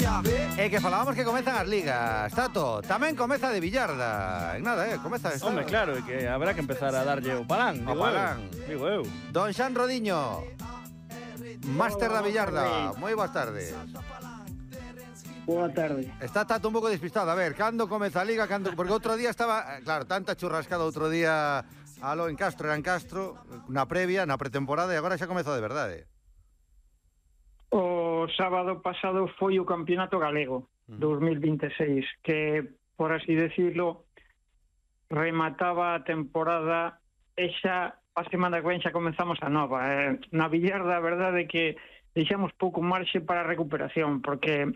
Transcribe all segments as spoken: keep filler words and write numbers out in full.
E que falábamos que comezan as ligas, Tato, tamén comeza de billarda. En nada, eh, comeza esta. Home, claro, e que habrá que empezar a darlle o palán, O digo palán. eu. Digo eu. Don Xan Rodiño, máster da billarda. Moi boas tardes. Boa tarde. Está Tato un pouco despistado. A ver, cando comeza a liga? Cando... Porque outro día estaba... Claro, tanta churrascada outro día alo en Castro, era en Castro, na previa, na pretemporada, e agora xa comezou de verdade. O sábado pasado foi o Campeonato Galego dos mil vinte e seis, que, por así decirlo, remataba a temporada e xa a semana que ven xa comenzamos a nova. Eh, na billarda, a verdade é que deixamos pouco marxe para a recuperación, porque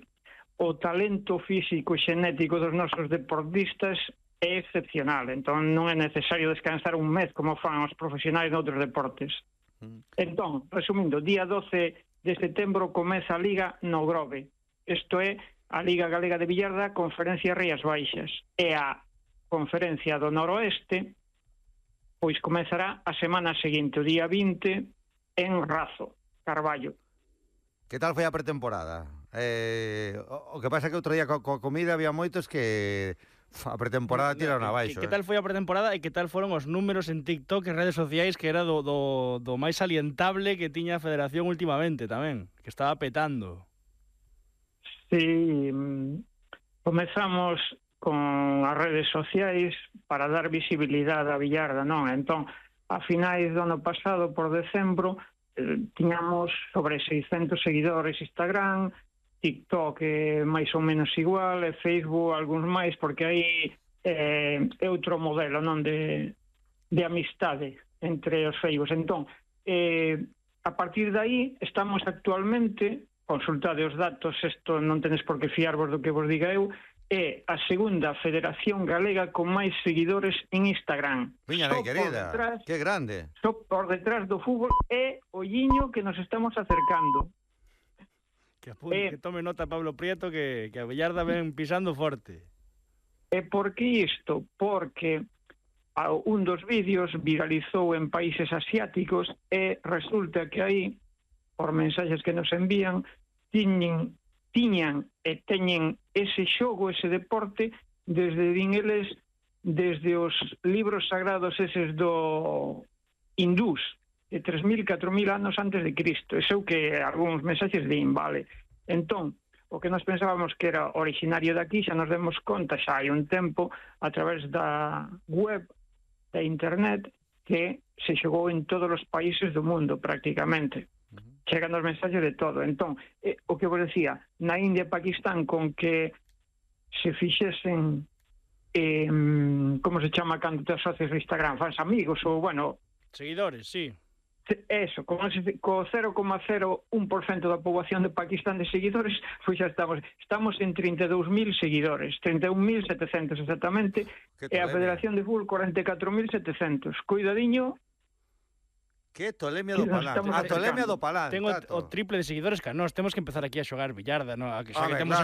o talento físico e xenético dos nosos deportistas é excepcional, entón non é necesario descansar un mes como fan os profesionais de outros deportes. Entón, resumindo, día doce de setembro comeza a Liga no Grove. Isto é a Liga Galega de Billarda, Conferencia Rías Baixas. E a Conferencia do Noroeste pois comezará a semana seguinte, o día vinte, en Razo, Carballo. Que tal foi a pretemporada? Eh, o, o que pasa é que outro día co, coa comida había moitos que a pretemporada tiraron abaixo. Que, que tal foi a pretemporada e que tal foron os números en TikTok e redes sociais, que era do, do, do máis salientable que tiña a Federación últimamente tamén, que estaba petando. Sí, comezamos con as redes sociais para dar visibilidade á billarda, non? Entón, a finais do ano pasado, por decembro, eh, tiñamos sobre seiscentos seguidores Instagram, TikTok é máis ou menos igual, e Facebook algúns máis, porque aí eh, é outro modelo, non, de, de amistade entre os Facebook. Entón, eh, a partir de aí estamos actualmente, consultade os datos, isto non tenes por que fiarvos do que vos diga eu, é a segunda federación galega con máis seguidores en Instagram. Viña, Só querida, detrás, que grande. só por detrás do fútbol é o Lliño que nos estamos acercando. Que, apunte, eh, que tome nota Pablo Prieto, que, que a billarda ven pisando forte. E por que isto? Porque a, un dos vídeos viralizou en países asiáticos e resulta que aí, por mensaxes que nos envían, tiñen, tiñan e teñen ese xogo, ese deporte, desde, din eles, desde os libros sagrados eses do hindús, de tres mil, catro mil anos antes de Cristo. Eso que algúns mensaxes din, vale. Entón, o que nos pensábamos que era originario daqui, xa nos demos conta xa hai un tempo, a través da web, da internet, que se xogou en todos os países do mundo, prácticamente. Uh-huh. Chegan os mensaxes de todo. Entón, eh, o que vos decía, na India e Pakistán, con que se fixesen, eh, como se chama cando te asocias a Instagram, fans amigos, ou, bueno... Seguidores, sí. Eso, con ese, co cero coma cero un por cento da poboación de Pakistán de seguidores, pois xa estamos estamos en trinta e dous mil seguidores, trinta e un mil setecentos exactamente, e a Federación de Fútbol cuarenta e catro mil setecentos. Cuidadiño. Que tolemia do palán. A tolemia do palán. Tengo o triple de seguidores que nós, temos que empezar aquí a xogar billarda, no? A que xa a que ver, temos claro,